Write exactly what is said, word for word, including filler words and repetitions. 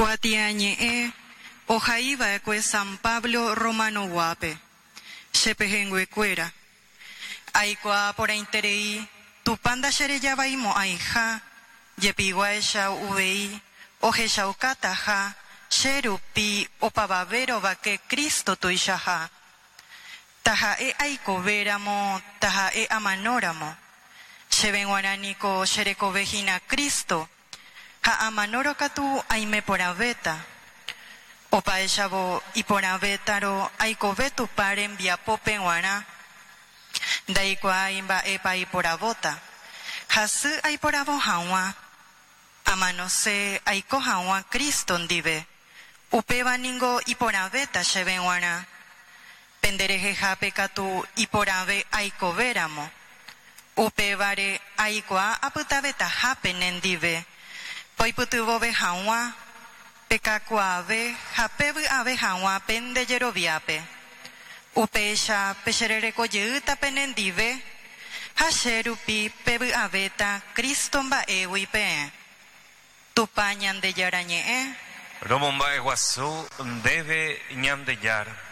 Kuatiañe'ẽ ohai va'ekue San Pablo Romanoguápe. Che pehẽnguekuéra, Aikuaa porãiterei Tupã ndacherejavai mo'ãiha, jepiguáicha uvei ohechaukataha che rupi opavave rovake Cristo tuichaha. Taha'e aikove ramo taha'e amano ramo. Chéve guarã niko che rekove hína Cristo, ha amanórõ katu aime porãvéta. Opáichavo, iporãvétarõ aikove Tupã rembiapo peguarã. Ndaikuaái mba'épa aiporavóta. Hasy aiporavo haguã. Amanose aiko haguã Cristo ndive. Upéva niko iporãvéta chéve guarã. Pende rehehápe katu iporãve aikove ramo. Upévare aikuaa apytavetaha pene ndive, poipytyvõve haguã, pekakuaave ha pevy'ave haguã pende jeroviápe. Upéicha pecherereko jeýta penendive ha che rupi pevy'avéta Cristo mba'égui peẽ. Tupã Ñandejára ñe'ẽ. Romomba'eguasu ndéve Ñandejára.